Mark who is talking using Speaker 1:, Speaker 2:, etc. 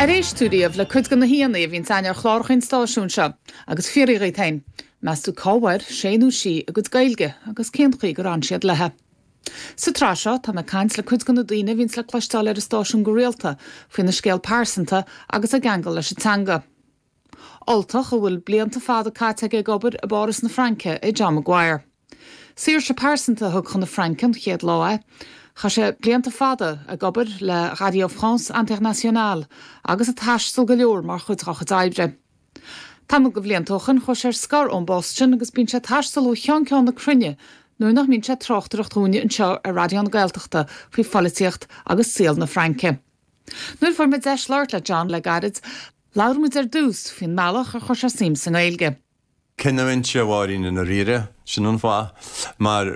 Speaker 1: Ar éist tú riamh le cuid de na haíonna a bhíonns againn ar chláracha an stáisiúin seo agus fiafraigh dhíot féin, meas tú cá bhfuair sé nó sí a gcuid Gaeilge agus cén chaoi gur fhan siad léi? Sa tsraith seo, tá mé ag caint le cuid de na daoine a bhíonns le cloisteáil ar an stáisiún go rialta faoina scéal pearsanta agus a gceangal leis an teanga. Ultach a bhfuil blianta fada caite aige ag obair i bPáras na Fraince é John Maguire. Saoirse pearsanta a thug chun na Fraince an chéad lá é. Chaith sé blianta fada ag obair le Radio France Internationale agus ag taisteal go leor mar chuid dá chuid oibre. Tamall de bhlianta ó shoin chuaigh sé ar scor ón bpost sin agus bíonn sé ag taisteal ó cheann ceann na cruinne nuair nach mbíonn sé ag tráchtaireacht dhúinne anseo ar Raidió na Gaeltachta faoi pholaitíocht agus saol na Fraince. Nuair a fuair mé deis labhairt le John le gairid, labhair muid ar dtús faoin mbealach ar chuir sé suim sa nGaeilge.
Speaker 2: Cinniúint, a Mháirín, i ndáiríre, sin an fáth, mar.